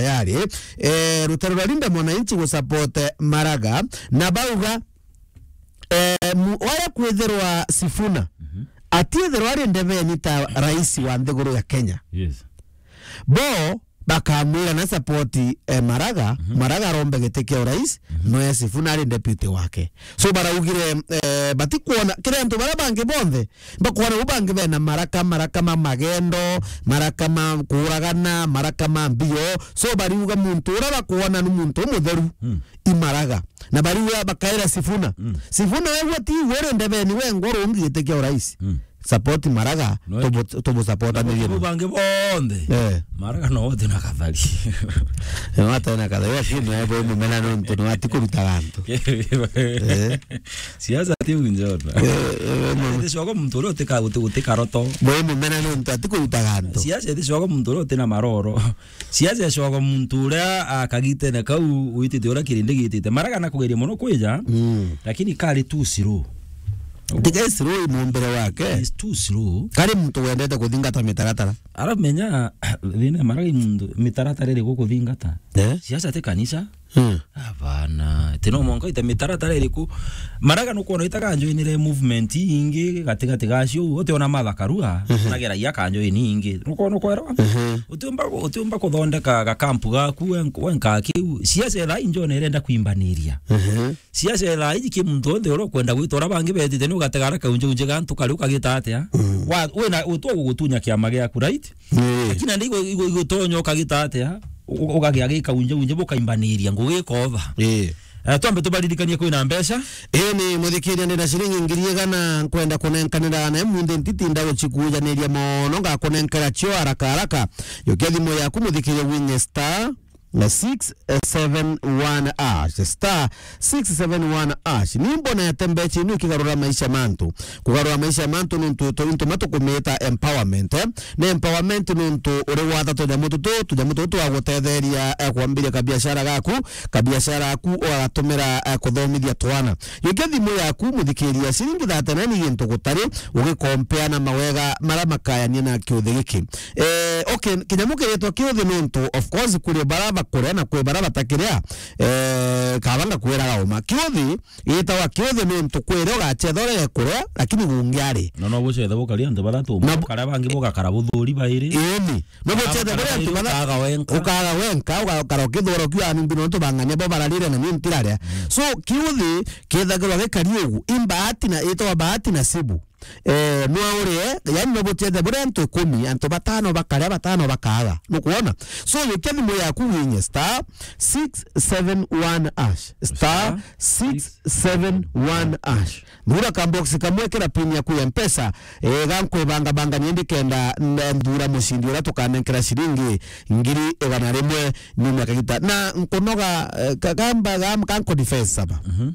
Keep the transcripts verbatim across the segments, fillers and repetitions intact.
tayari, eh, rutaro rwa Linda Mwananchi gusupport Maraga, na bauga, eh, mu-, waya kwithirwa Sifuna, mhm, atiithirwa ari ndebeni ta rais wa nthiguru ya Kenya. Yes. Bo bakamwira na support, eh, Maraga, mhm, Maraga arombe giti kia urais, mhm, noe Sifuna ari deputy wake. So baraugire, eh, batikwona, kiri antu baria bangi bonthe, bakwona u bangi bena maraka, maraka ma magendo, maraka ma kuuragana, maraka ma mbio. So bariuga muntu uria bakwona ni muntu umutheru, mm, i Maraga. Na bariuga bakaira Sifuna. Mm. Sifuna wegua ti we uri ndebeni wengwa urungi giti kia urais. Mm. Support Maraga, no, tubu-, tubu support na ni bangi bonthe. Eh. Maraga no wote na kathari. No wote na kathari, lakini no ebo mumena nontu no atikuruta gantu. Eh. Siasa ti unjona. Eh, eh, no. Iti shogo muntu uria utika-, uti-, utikaroto. Bo mumena nontu atikuruta gantu. Siasa iti shogo muntu uria utina maroro. Siasa shogo muntu uria akagitene kau witite uria kirindi gitite. Maraga na kugeria muno kwija, mm, lakini kari too slow. Tiga slow i mumbire wake. It's too slow. Kari muntu wendete kuthingata mitaratara. Aramenya, thina Maraga i muntu, mitaratara iri gukuthingata. Eh? Siasa ti kanisa. Hmm. Abana, ti no mwanka ite mitaratara iriku. Maraga nukwona itaga njoinire movement ingi gatigati gacio, utiona Martha Karua, mhm, nageragia kanjoini ingi. Nukwona, nukwera? Mhm. Utiumba, utiumba kuthondeka gakampu gaku wen-, wenka kiu. Siasa thaa ii njone irenda kwimbaniria. Mhm. Siasa thaa iji ki muntu onthe uria ukwenda gwita uria bangi betite ni ugategara kaunje unje gantu kari ukagita atia? Mm. Wa, wina, utwa gugutunya kiama giaku, right? Ii. Lakini nandi igo, igo, igotonya ukagita atia? U-, u-, ugagia gikaunje unje bukaimbaniria ngugi ikova. Ii. Eh, twambe tubaririkanie kwina mbeca. Ii ni muthikiria, ndina ciringi ngiri igana nkwenda kunenkanira na munthi ntitinda gucikujaniria mono, ngakunenkera cio haraka haraka. Jukia thimu yaku muthikiria winye star na six seven one hash, star six seven one hash. Ni mbonete mbeca ino ikigarura maisha mantu. Kugarura maisha mantu nontu to-, into matukumita empowerment, eh? Ni empowerment nontu uri gwatha tunyamu tutu, tunyamu tutu twa gutetheria, eh, kwambiria kabiashara gaku, kabiashara gaku ugatumira, eh, kuthomithia twana. Jukia thimu yaku, muthikiria, ciringi thirty-nine ni gintu gutari, ugikompea na mawega maria makayania na kiuthi giki. Eh, okay, kinyamu kiritwa kiuthi nontu, of course, kuri baria bakuria na kwi baria batakiria, eh, kaba ngakwiraga uma. Kiuthi gitagwa kiuthi nontu kwiria ugacetha urege kuria, lakini gungi ari. Na no bucethe bukaria antu bathatu, na bu- bukaria bangi bugakara buthuri bairi. Ii ni. No bucethe buria antu bathatu. Ukaga wenka. Ukaga wenka, ugakara ukithura ukiuga, "Ni mbino nontu bang'ania bo bararire na ni ntiraria." Mm. So, kiuthi kithagirwa gikari ugu. I mbahati na, itagwa bahati nasibu. Eh, nwa urie, yani no bucethe buria antu ikumi, antu batano bakaria, batano bakaga. Nukwona? So, jukia thimu yaku winye star six seven one hash. Star six seven one hash. Thura ka box kamwe, kira pin yaku ya Mpesa, eh, gankwibangabangania ndikenda n-, nthura mucindi uria tukanenkera ciringi ngiri igana rimwe nyuma ya kagita. Na nkunoga, eh, kagamba gam-, ganku defense saba. Mhm.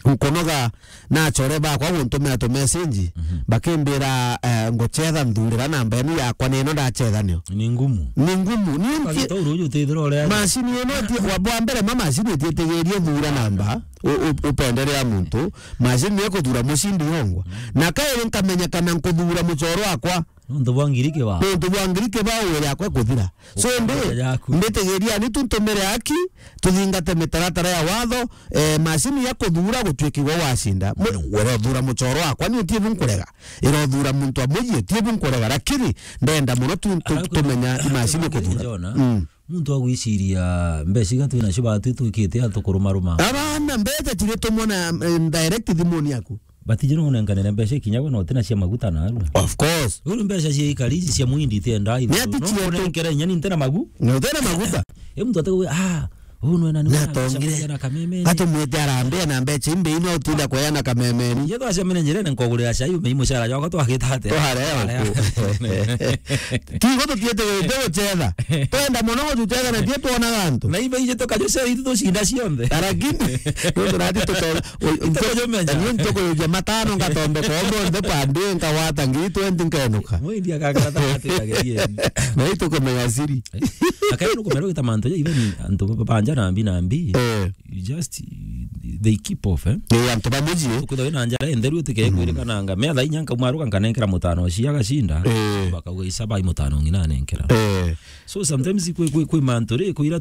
Nkunoga na achore bakwa guntumira tu message, mhm, bakimbira, eh, ngucetha nthurira namba enu yakwa ni ino ndacetha nio. Ni ngumu. Ni ngumu. Ni nti- Ukagita uru uju utithira uria. Macini ino ti-, wa, wa mbere ma macini itietigirie thura namba, u-, u-, upenderea muntu, macini ni ikuthura mucindi yongwa. Mhm. Na kairi nkamenya kana nkuthura muchoro wakwa. Nontu bwa ngiri kibao. Nontu bwa ngiri kibao wira yakwa ikuthira. So, ndi-, yaku. Mbitigiria ni tu ntumire aki, tuthingate mitaratara ya watho, eh, macini ya kuthura gutuikigwa wacinda. Mwe, mm, urothura muchoro wakwa, ni utie bu nkurega. Irothura muntu amwe, utie bu nkurega, lakini ndenda muno tu, tu, Araku tumenya ni macini kuthura. Njona, mm, muntu agwiciria mbeca iga twina cio batu twikite atu kurumaruma. Abana mbeca tiri tumwe na, eh, direct thimuni yaku. Batiji no unenkanire mbeca ikinyagwe na utina cia maguta na arua. Of course. Uru mbeca cia ikari ici cia muindi itienda ithu. Ni ati no cia tu- unenkere inya ni ntina magu. Ni utina maguta. E muntu ategwe, ah, uu nwena ni na mwana tongire. Cia na kameme. Atumwite arambia na mbeca imbe ino utinda kweyana kamemeni. Ye twacemene njirene nkogurira cai ume imucara jwakwa twagita atia? Tware. Tware. Tigo tutietegerete gucetha. Twenda muno gucetha na tie twona gantu. Na ibe ije tukajucera itu tucinda cionthe. Lakini, nontu nati tuto-, u-, ntukujumenya. Ni ntukujukia matano ngatomboka o monthe pande nkawata ngiri twenty nkenuka. Mwindi akakara ta ati kagerieni. Na itukumenya siri. Akai nukumero gita mantu ja ibe ni antu ba-, banja na mbi na mbi. Eh. You just, they keep off, eh? Eh, antu ba mucii. Kwithirwa wina njara intheru itike kwirikananga. Metha inya nkauma ruga nkanenkera mutano cia gacinda. Eh. Bakauga, "Isa bai mutano ng'ina anenkera." Eh. So sometimes kwi, kwi, kwi mantu ri, kwira